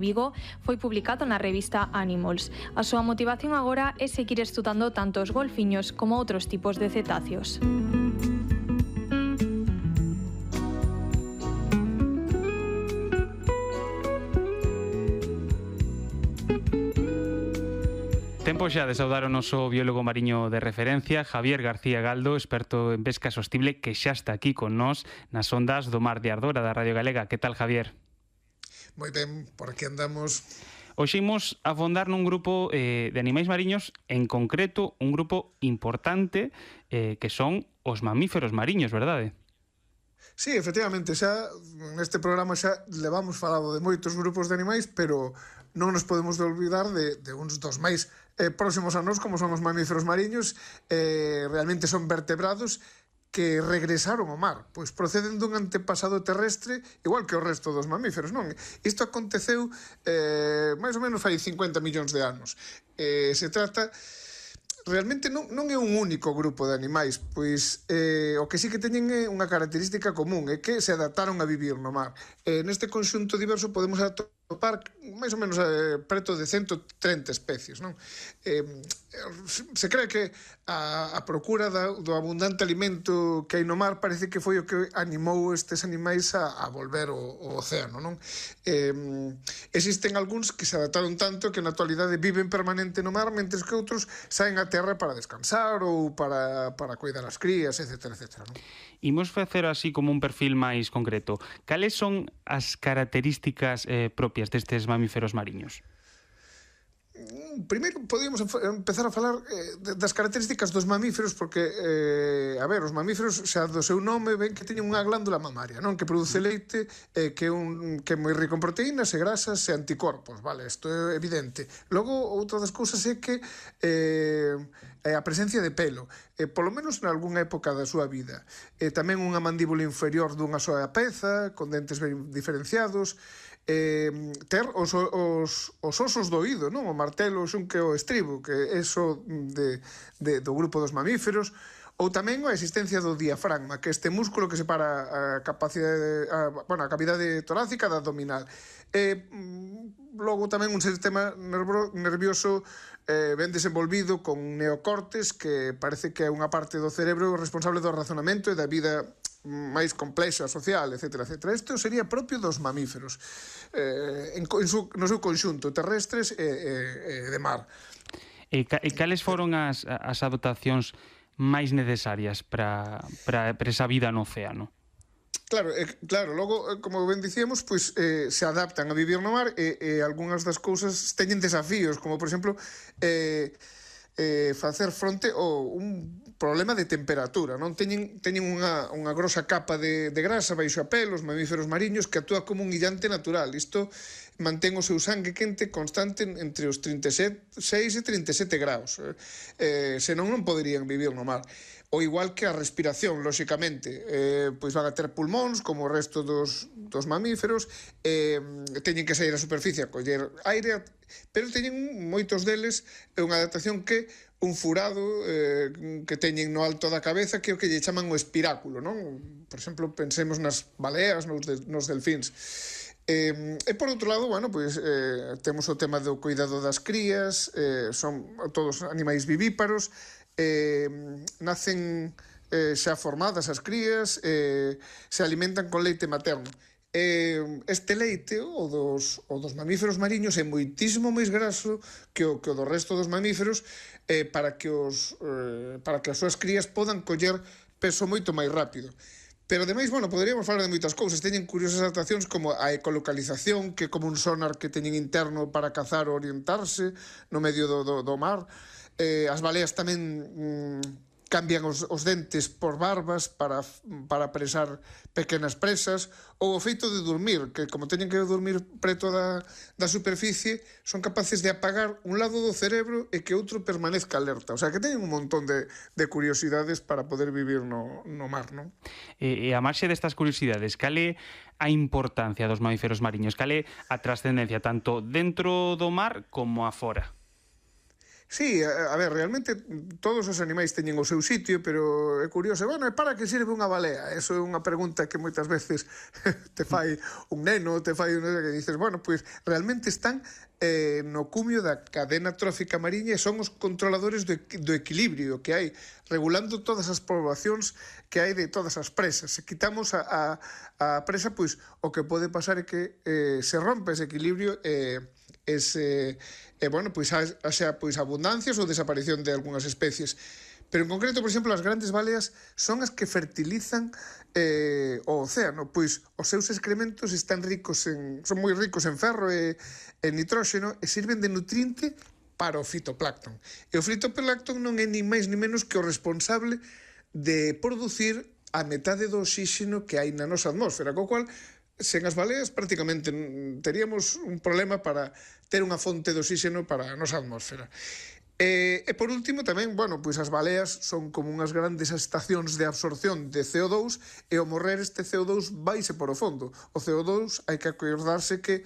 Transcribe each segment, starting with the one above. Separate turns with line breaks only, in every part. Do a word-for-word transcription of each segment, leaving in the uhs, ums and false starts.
Vigo foi publicado na revista Animals. A súa motivación agora é seguir estudando tanto os golfiños como outros tipos de cetáceos.
Tempo xa de saudar o noso biólogo mariño de referencia, Javier García Galdo, experto en pesca sostible, que xa está aquí con nós nas ondas do Mar de Ardora da Radio Galega. Que tal, Javier?
Moi ben, por aquí andamos.
Hoxe imos afondar nun grupo eh, de animais mariños, en concreto un grupo importante eh, que son os mamíferos mariños, verdade?
Sí, efectivamente, xa neste programa xa levamos falado de moitos grupos de animais, pero non nos podemos de olvidar de, de uns dos máis eh, próximos a nós, como son os mamíferos mariños. Eh, realmente son vertebrados que regresaron ao mar, pois proceden dun antepasado terrestre igual que o resto dos mamíferos, non? Isto aconteceu eh, máis ou menos fai cincuenta millóns de anos. Eh, se trata... Realmente non, non é un único grupo de animais, pois eh, o que sí que teñen é unha característica común, é que se adaptaron a vivir no mar. Eh, neste conxunto diverso podemos atopar máis ou menos eh, preto de ciento treinta especies, non? Eh, se cree que a, a procura da, do abundante alimento que hai no mar parece que foi o que animou estes animais a, a volver ao, ao océano, non? Eh, existen algúns que se adaptaron tanto que na actualidade viven permanente no mar, mentres que outros saen a terra para descansar ou para, para cuidar as crías, etcétera, etcétera, non?
Imos facer así como un perfil máis concreto. Cales son as características eh, propias destes mamíferos mariños?
Primeiro, podíamos empezar a falar eh, das características dos mamíferos, porque, eh, a ver, os mamíferos, xa do seu nome, ven que teñen unha glándula mamaria, non? Que produce leite, eh, que é un, que é moi rico en proteínas e grasas e anticorpos, vale? Isto é evidente. Logo, outra das cousas é que eh, a presencia de pelo, eh, polo menos en algunha época da súa vida. Eh, tamén unha mandíbula inferior dunha soa peza, con dentes ben diferenciados, eh, ter os, os, os osos do oído, non? O martelo, o xunque o estribo, que é eso de, de, do grupo dos mamíferos, ou tamén a existencia do diafragma, que é este músculo que separa a capacidade, a, bueno, a cavidade torácica da abdominal. E logo tamén un sistema nervo, nervioso eh, ben desenvolvido con neocortes, que parece que é unha parte do cerebro responsable do razonamento e da vida máis complexa, social, etcétera, etcétera. Isto sería propio dos mamíferos, eh, en, en su, no seu conxunto, terrestres e, e, e de mar.
E, ca, e cales foron as, as adaptacións máis necesarias para, para, para esa vida no océano?
Claro, eh, claro, logo, como ben dicíamos, pois eh, se adaptan a vivir no mar e, e algunhas das cousas teñen desafíos, como, por exemplo, eh, eh, facer fronte ao un problema de temperatura, non? Teñen, teñen unha, unha grosa capa de, de grasa baixo a pelo, os mamíferos mariños, que actúa como un illante natural. Isto mantén o seu sangue quente constante entre os trinta e seis e trinta e sete graus. Eh, senón non poderían vivir no mar. O igual que a respiración, lóxicamente, eh, pois van a ter pulmóns, como o resto dos, dos mamíferos, eh, teñen que sair á superficie a coller aire, pero teñen moitos deles unha adaptación que un furado eh, que teñen no alto da cabeza, que é o que lle chaman o espiráculo, non? Por exemplo, pensemos nas baleas, nos, de, nos delfíns. Eh, e por outro lado, bueno, pois, eh, temos o tema do cuidado das crías, eh, son todos animais vivíparos, eh, nacen eh, xa formadas as crías, eh, se alimentan con leite materno. Eh, este leite, o dos, o dos mamíferos mariños, é moitísimo máis graso que o, que o do resto dos mamíferos, eh, para que os eh, para que as súas crías podan coller peso moito máis rápido. Pero, ademais, bueno, poderíamos falar de moitas cousas. Teñen curiosas adaptacións como a ecolocalización, que é como un sonar que teñen interno para cazar ou orientarse no medio do, do, do mar. Eh, as baleas tamén mm, cambian os, os dentes por barbas para, para presar pequenas presas, ou o feito de dormir, que como teñen que dormir preto da, da superficie, son capaces de apagar un lado do cerebro e que outro permanezca alerta. O sea, que teñen un montón de, de curiosidades para poder vivir no, no mar, non?
E, e a marxe destas curiosidades, cal é a importancia dos mamíferos mariños? Cal é a trascendencia tanto dentro do mar como afora?
Sí, a, a ver, realmente todos os animais teñen o seu sitio, pero é curioso, bueno, e para que sirve unha balea? Eso é unha pregunta que moitas veces te fai un neno, te fai un neno que dices, bueno, pois pues, realmente están eh, no cumio da cadena trófica mariña e son os controladores do, do equilibrio que hai, regulando todas as poblacións que hai de todas as presas. Se quitamos a, a, a presa, pois pues, o que pode pasar é que eh, se rompe ese equilibrio e eh, ese, eh, bueno, pois pues, xa pois abundancias ou desaparición de algunhas especies. Pero en concreto, por exemplo, as grandes baleas son as que fertilizan eh, o océano, pois os seus excrementos están ricos en, son moi ricos en ferro e en nitróxeno e sirven de nutriente para o fitoplancton. E o fitoplancton non é ni máis ni menos que o responsable de producir a metade do oxígeno que hai na nosa atmósfera, co cual sen as baleas prácticamente teríamos un problema para ter unha fonte de oxígeno para a nosa atmósfera. E, e por último tamén, bueno, pois as baleas son como unhas grandes estacións de absorción de C O dous e ao morrer este C O dous vaise por o fondo. O C O dous hai que acordarse que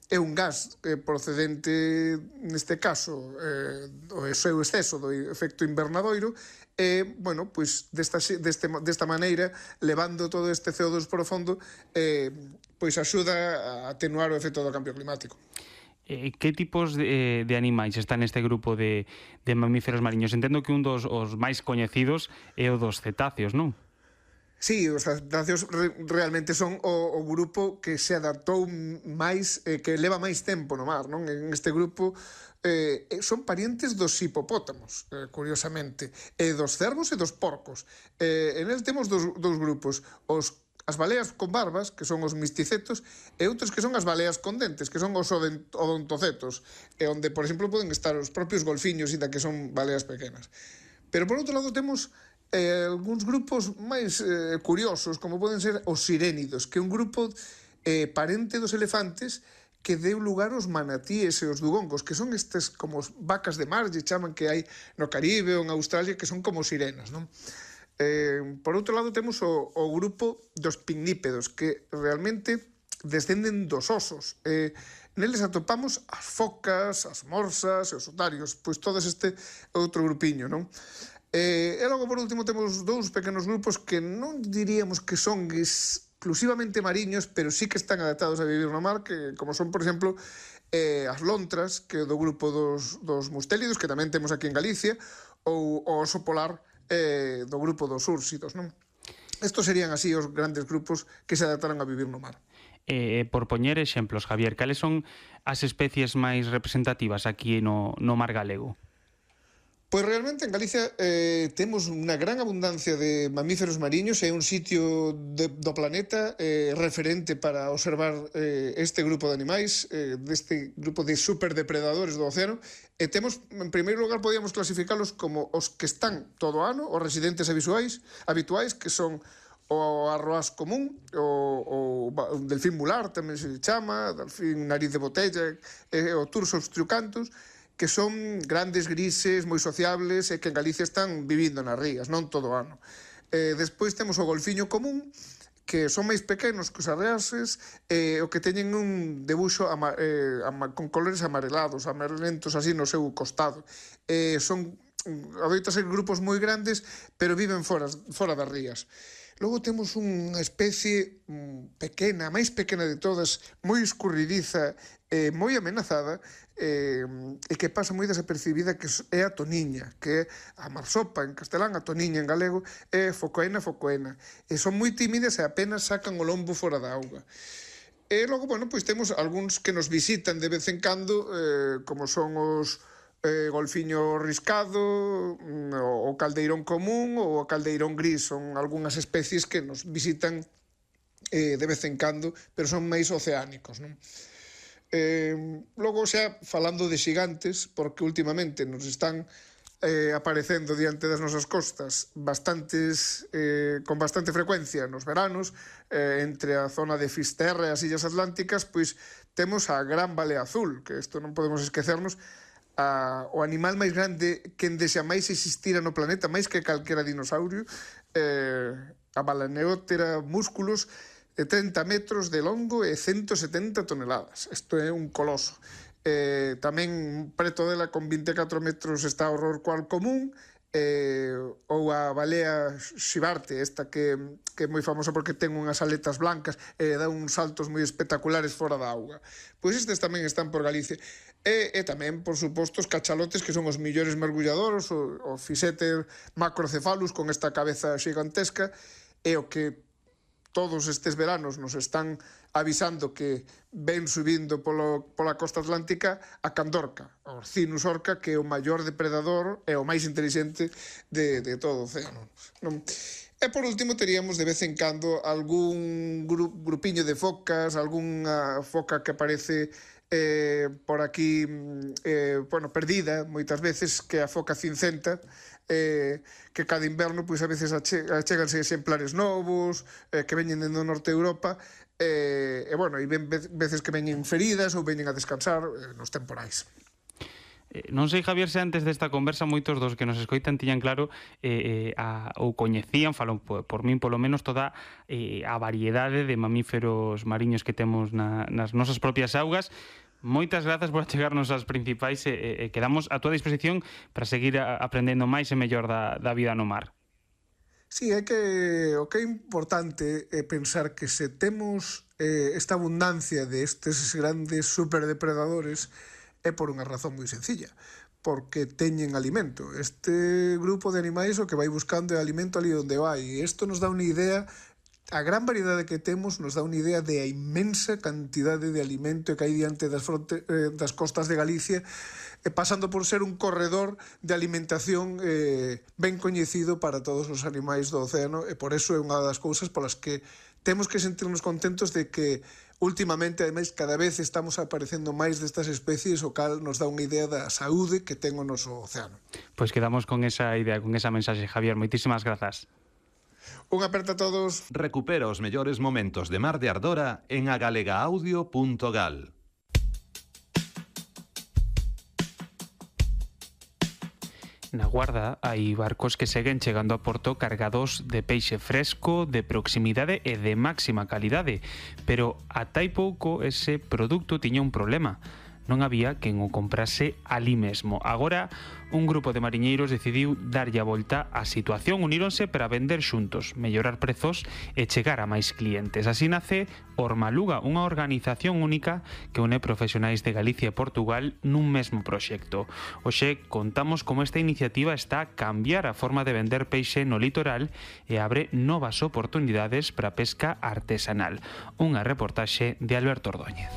é un gas eh, procedente, neste caso, eh, o seu exceso do efecto invernadoiro e, bueno, pois desta, deste, desta maneira, levando todo este C O dous por o fondo, eh, pois axuda a atenuar o efecto do cambio climático.
Eh, que tipos de, de animais están neste grupo de, de mamíferos mariños? Entendo que un dos os máis coñecidos é o dos cetáceos, non?
Sí, os cetáceos re, realmente son o, o grupo que se adaptou máis, eh, que leva máis tempo no mar, non? En este grupo eh, son parientes dos hipopótamos, eh, curiosamente, e dos cervos e dos porcos. Eh, en el temos dos, dos grupos, os as baleas con barbas, que son os misticetos, e outros que son as baleas con dentes, que son os odontocetos, e onde, por exemplo, poden estar os propios golfiños, inda que son baleas pequenas. Pero, por outro lado, temos eh, algúns grupos máis eh, curiosos, como poden ser os sirénidos, que é un grupo eh, parente dos elefantes que deu lugar aos manatíes e os dugongos, que son estes como vacas de mar, lle chaman que hai no Caribe ou en Australia, que son como sirenas, non? Eh, por outro lado temos o, o grupo dos pignípedos, que realmente descenden dos osos. Eh, neles atopamos as focas, as morsas e os otarios, pois todo este outro grupiño, non? Eh, e logo por último temos dous pequenos grupos que non diríamos que son exclusivamente mariños, pero sí que están adaptados a vivir no mar, que como son, por exemplo, eh, as lontras, que é do grupo dos, dos mustélidos, que tamén temos aquí en Galicia, ou o oso polar, eh, do grupo dos úrsidos, non? Estos serían así os grandes grupos que se adaptaron a vivir no mar.
Eh, por poñer exemplos, Javier, cales son as especies máis representativas aquí no, no mar galego?
Pois realmente en Galicia eh, temos unha gran abundancia de mamíferos mariños, é un sitio de, do planeta eh, referente para observar eh, este grupo de animais, eh, deste grupo de superdepredadores do océano, e temos, en primeiro lugar, podíamos clasificarlos como os que están todo o ano, os residentes habituais, habituais, que son o arroaz común, o, o delfín mular, tamén se chama, delfín nariz de botella, e o Tursos trucantus, que son grandes grises, moi sociables e que en Galicia están vivindo nas rías, non todo o ano. Eh, despois temos o golfiño común, que son máis pequenos que os arreases, e o que teñen un debuxo ama, eh, ama, con colores amarelados, amarelentos así no seu costado. Eh, son, adoita ser grupos moi grandes, pero viven fora, fora das rías. Logo temos unha especie pequena, a máis pequena de todas, moi escurridiza, eh, moi amenazada, eh, e que pasa moi desapercibida, que é a toniña, que é a marsopa en castelán, a toniña en galego, é focoena focoena. E son moi tímidas e apenas sacan o lombo fora da auga. E logo, bueno, pois temos algúns que nos visitan de vez en cando, eh, como son os eh, golfiño riscado, o caldeirón común ou o caldeirón gris, son algunhas especies que nos visitan eh, de vez en cando, pero son máis oceánicos, non? Eh, logo xa falando de xigantes, porque últimamente nos están eh, aparecendo diante das nosas costas bastantes, eh, con bastante frecuencia nos veranos, eh, entre a zona de Fisterra e as Illas Atlánticas, pois temos a gran balea azul, que isto non podemos esquecernos, a, o animal máis grande que endexa máis existira no planeta, máis que calquera dinosaurio, eh, a Balaneoptera musculus, de trinta metros de longo e ciento setenta toneladas. Isto é un coloso. Eh, tamén preto dela con vinte e catro metros está o rorcual común, eh, ou a balea xibarte, esta que, que é moi famosa porque ten unhas aletas blancas e dá uns saltos moi espectaculares fora da auga. Pois estes tamén están por Galicia. E, e tamén, por suposto, os cachalotes, que son os millores mergulladoros, o, o Physeter macrocephalus con esta cabeza xigantesca, e o que todos estes veranos nos están avisando que ven subindo polo, pola costa atlántica a candorca, o Orcinus orca, que é o maior depredador e o máis inteligente de, de todo o océano. Non? E por último teríamos de vez en cando algún gru, grupiño de focas, algunha foca que aparece eh, por aquí eh, bueno, perdida moitas veces, que é a foca cincenta, eh, que cada inverno pois a veces acheganse exemplares novos eh, que veñen do norte de Europa, e, e bueno, e ven veces que veñen feridas ou veñen a descansar eh, nos temporais.
Eh, non sei, Javier, se antes desta conversa moitos dos que nos escoitan tiñan claro eh, eh, a, ou coñecían, falon por, por min polo menos, toda eh, a variedade de mamíferos mariños que temos na, nas nosas propias augas. Moitas grazas por achegarnos as principais e, e, e quedamos a túa disposición para seguir a, aprendendo máis e mellor da, da vida no mar.
Sí, é que o que é importante é pensar que se temos eh, esta abundancia de estes grandes superdepredadores é por unha razón moi sencilla, porque teñen alimento. Este grupo de animais o que vai buscando é alimento ali onde vai, e isto nos dá unha idea. A gran variedade que temos nos dá unha idea de a inmensa cantidade de alimento que hai diante das, fronte, eh, das costas de Galicia, eh, pasando por ser un corredor de alimentación eh, ben coñecido para todos os animais do océano, e por eso é unha das cousas polas que temos que sentirnos contentos de que últimamente, ademais, cada vez estamos aparecendo máis destas especies, o cal nos dá unha idea da saúde que ten o noso océano.
Pois quedamos con esa idea, con esa mensaxe, Javier. Moitísimas grazas.
Un aperta a todos.
Recupera os mellores momentos de Mar de Ardora en agalegaudio punto gal.
Na Guarda hai barcos que seguen chegando a Porto cargados de peixe fresco, de proximidade e de máxima calidade, pero ata hai pouco ese produto tiña un problema. Non había quen o comprase alí mesmo. Agora, un grupo de mariñeiros decidiu darlle a volta á situación, uníronse para vender xuntos, mellorar prezos e chegar a máis clientes. Así nace Ormaluga, unha organización única que une profesionais de Galicia e Portugal nun mesmo proxecto. Hoxe contamos como esta iniciativa está a cambiar a forma de vender peixe no litoral e abre novas oportunidades para a pesca artesanal. Unha reportaxe de Alberto Ordóñez.